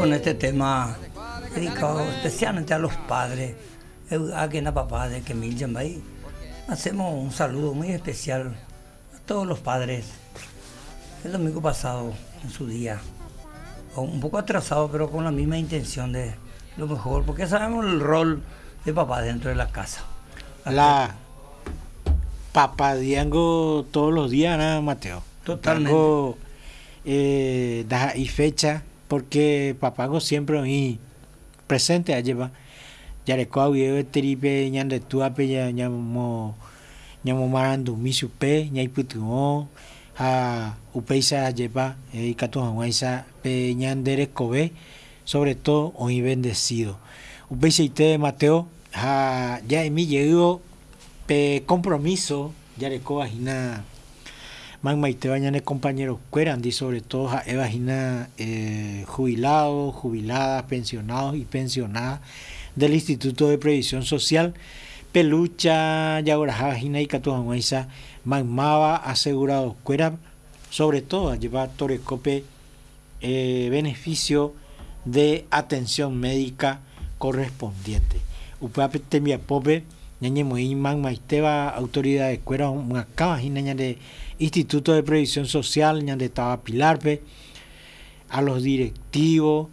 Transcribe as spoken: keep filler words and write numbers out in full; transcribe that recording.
Con este tema dedicado especialmente a los padres, a que papá de Kemil Yambay, hacemos un saludo muy especial a todos los padres. El domingo pasado, en su día, un poco atrasado, pero con la misma intención de lo mejor, porque sabemos el rol de papá dentro de la casa. La papá diango todos los días, ¿no, Mateo? Totalmente. Diango, eh, da y fecha, porque papago siempre ahí presente allí va. Yarekoa teripe ñande tuape ya ñamo ñamo marandumi chupe ñaipytyvõ ha upéicha jepa ikatu hag̃uáicha pe ñande rekove sobre todo oĩ bendecido. Upeichaite Mateo ha ja'emi jeývo pe compromiso jarekóva hína maymaitéva ñane compañerokuérandi sobre todo ha'éva hína eh, jubilados, jubiladas, pensionados y pensionadas del Instituto de Previsión Social pelucha jagueraha hína ikatu hag̃uáicha maymáva aseguradokuéra sobre todo lleva torekópe eh, beneficio de atención médica correspondiente. Upévape tembiapópe ñañemoĩ maymaitéva autoridadeskuéra omyakãva hína ñande Instituto de Previsión Social ñande táva Pilarpe a los directivos,